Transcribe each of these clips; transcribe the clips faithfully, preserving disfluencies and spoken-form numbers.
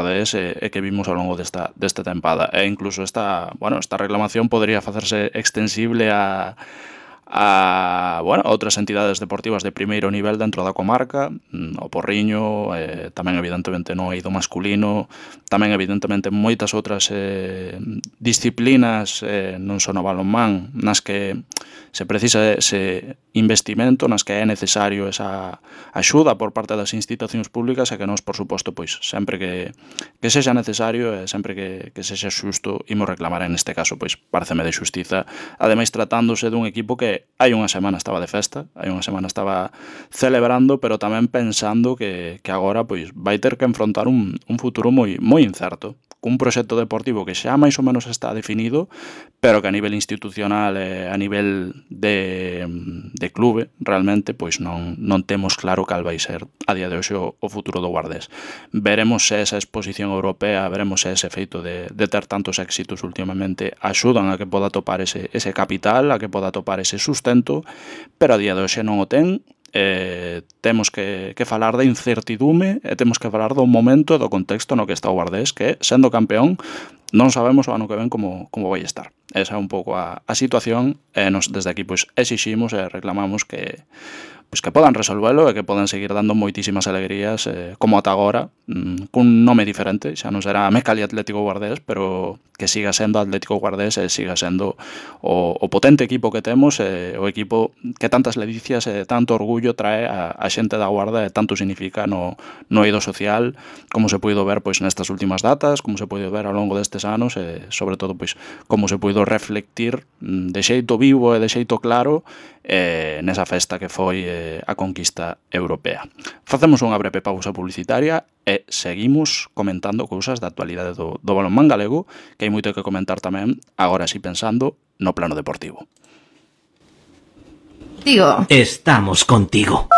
Guardés e, e que vimos ao longo desta, desta tempada. E incluso esta, bueno, esta reclamación podría facerse extensible a a, bueno, a outras entidades deportivas de primeiro nivel dentro da comarca, o Porriño, eh, tamén evidentemente no eido masculino, tamén evidentemente moitas outras eh, disciplinas, eh, non só no balonmán, nas que se precisa ese investimento, nas que é necesario esa axuda por parte das institucións públicas e que nós, por suposto, pois sempre que, que sexa necesario e sempre que, que sexa xusto imos reclamar. En este caso, pois pareceme de xustiza, ademais tratándose dun equipo que hai unha semana estaba de festa, hai unha semana estaba celebrando, pero tamén pensando que, que agora pois vai ter que enfrontar un, un futuro moi moi incerto, cun proxecto deportivo que xa máis ou menos está definido, pero que a nivel institucional e a nivel de, de clube realmente pois non, non temos claro cal vai ser a día de hoxe o, o futuro do Guardés. Veremos se esa exposición europea, veremos se ese feito de, de ter tantos éxitos últimamente axudan a que poda topar ese, ese capital, a que poda topar ese sustento, pero a día de hoxe non o ten. Eh, temos que, que falar da incertidume e temos que falar do momento e do contexto no que está o Guardés, que sendo campeón non sabemos o ano que ven como, como vai estar. Esa é un pouco a, a situación e nos desde aquí pois exiximos e reclamamos que pois que podan resolvelo e que podan seguir dando moitísimas alegrías eh, como ata agora, mm, cun nome diferente, xa non será Mecali Atlético Guardés, pero que siga sendo Atlético Guardés e siga sendo o, o potente equipo que temos, e o equipo que tantas ledicias e tanto orgullo trae a, a xente da Guarda e tanto significa no, no eido social, como se puido ver pois nestas últimas datas, como se puido ver ao longo destes anos e sobre todo pois como se puido reflectir de xeito vivo e de xeito claro eh, nesa festa que foi eh, a conquista europea. Facemos unha breve pausa publicitaria e seguimos comentando cousas da actualidade do, do balonmán galego, que hai moito que comentar tamén, agora si pensando no plano deportivo. Digo, estamos contigo.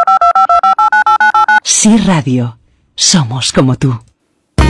Sí Radio, somos como tú.